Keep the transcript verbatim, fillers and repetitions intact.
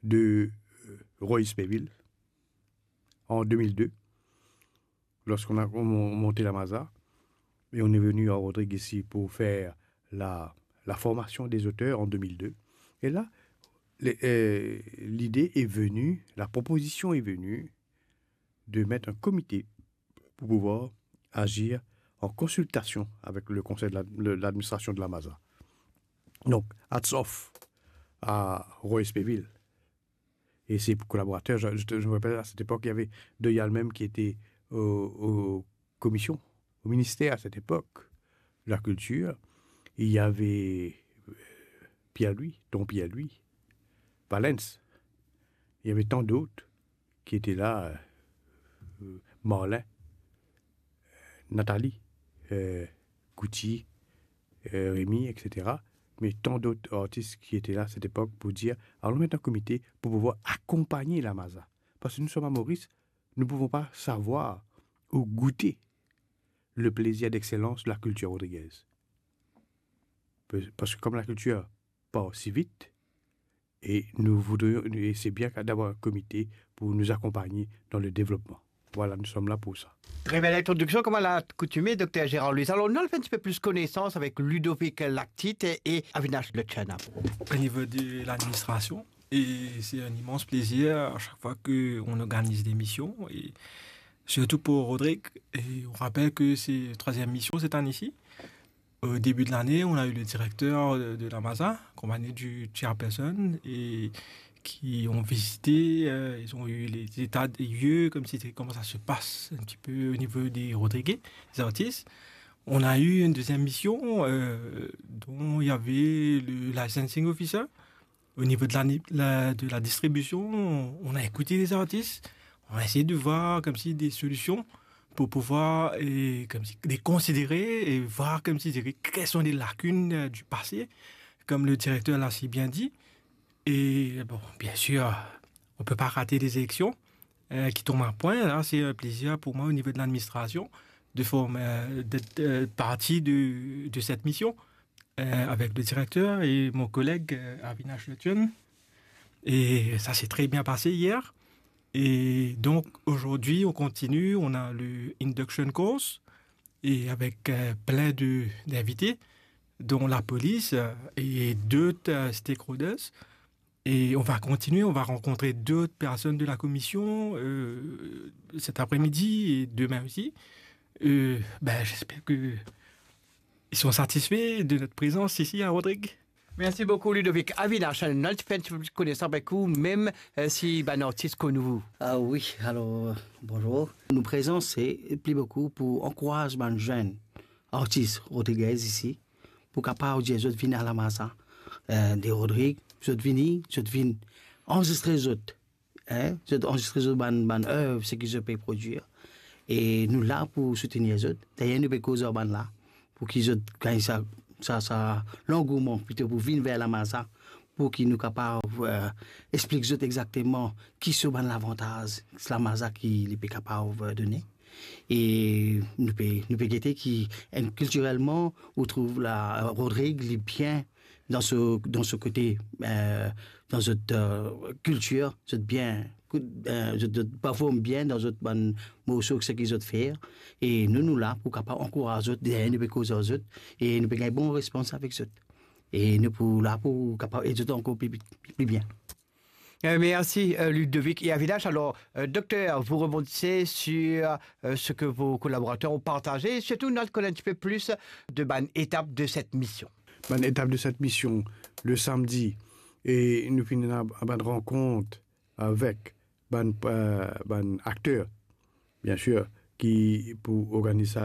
de, euh, Roy Spéville en deux mille deux, lorsqu'on a, on mon-, monté la Maza, et on est venu à Rodrigues ici pour faire la, la formation des auteurs en deux mille deux. Et là, les, euh, l'idée est venue, la proposition est venue de mettre un comité pour pouvoir agir en consultation avec le conseil de la, le, l'administration de la Maza. Donc, hats off à Roy Spéville et ses collaborateurs. Je, je, je me rappelle, à cette époque, il y avait Doyal même qui était au, au commission, au ministère à cette époque, de la culture. Il y avait, euh, Pierre-Louis, Don Pierre-Louis, Valence. Il y avait tant d'autres qui étaient là, euh, Marlin, Nathalie, euh, Coutier, euh, Rémy, et cetera. Mais tant d'autres artistes qui étaient là à cette époque pour dire, allons mettre un comité pour pouvoir accompagner la Maza. Parce que nous sommes à Maurice, nous ne pouvons pas savoir ou goûter le plaisir d'excellence de la culture rodriguaise. Pe-, parce que comme la culture part si vite, et nous voudrions, et c'est bien d'avoir un comité pour nous accompagner dans le développement. Voilà, nous sommes là pour ça. Très belle introduction, comme à l'accoutumée, Docteur Gérard Louis. Alors, nou al fer un petit peu plus connaissance avec Ludovic Lactite et Avinash Lechena. Au niveau de l'administration, et c'est un immense plaisir à chaque fois qu'on organise des missions, et surtout pour Rodrigue. Et on rappelle que c'est troisième mission cette année-ci. Au début de l'année, on a eu le directeur de, de la Maza, accompagné du chairperson, et qui ont visité, euh, ils ont eu les états des lieux, comme c'était, comment ça se passe un petit peu au niveau des Rodriguais, des artistes. On a eu une deuxième mission, euh, dont il y avait le licensing officer. Au niveau de la, la, de la distribution, on a écouté les artistes, on a essayé de voir comme si des solutions pour pouvoir, et comme si, les considérer et voir comme si, quelles sont les lacunes, euh, du passé, comme le directeur l'a si bien dit. Et bon, bien sûr, on peut pas rater les élections, euh, qui tombent à point. Là, c'est un plaisir pour moi au niveau de l'administration de former, euh, d'être, euh, partie de, de cette mission, euh, avec le directeur et mon collègue, euh, Avinash Lechena. Et ça s'est très bien passé hier. Et donc, aujourd'hui, on continue. On a le induction course et avec, euh, plein de, d'invités, dont la police, euh, et d'autres, euh, stakeholders. Et on va continuer, on va rencontrer d'autres personnes de la commission, euh, cet après-midi et demain aussi. Euh, ben, j'espère que ils sont satisfaits de notre présence ici à Rodrigues. Merci beaucoup, Ludovic. Avinash, nou al fer un petit peu plus connaissance avec vous, même, euh, si bann artis konn ou. Ah oui, alors, euh, bonjour. Nou prezans se pli boukou pou ankouraz bann zenn artis rodrigez isi, pou kapav dir zot vinn a la Maza, euh, de Rodrigues, zot vini, zot vinn anrezistre zot, hein, zot anrezistre zot bann, bann ev, seki zot pe prodwir. E nou la pou soutenir zot. D'ailleurs, nou pe koz ar bann la, pou ki zot gagn sa, sa, sa langouman plito pou vinn ver la Maza, pou ki nou kapav, euh, explik zot exakteman ki so bann lavantaz la Maza ki li pe kapav, euh, done. E nou pe, nou pe gete ki, euh, kiltirelman, ou trouv la, Rodrigues, li bien dan so, dan so kote, euh, dan zot, euh, kiltir, zot bien, euh, zot, zot perform bien dan zot bann morso, seki zot fer. E nou, nou la pou kapav ankouraz zot, deryer nou pe koz ar zot, e nou pe gagn bon respons avek zot. E nou pou la pou kapav ed zot ankor pli, pli, pli bien. Euh, merci, euh, Ludovic et Avinash. Alors, euh, docteur, vous rebondissez sur, euh, ce que vos collaborateurs ont partagé. Surtout, nou al konn un petit peu plus de bann étapes de cette mission. Bann étapes de cette mission, le samedi, e nou finn ena bann rankont avek bann, euh, bann akter, bien sûr, ki pou organiz sa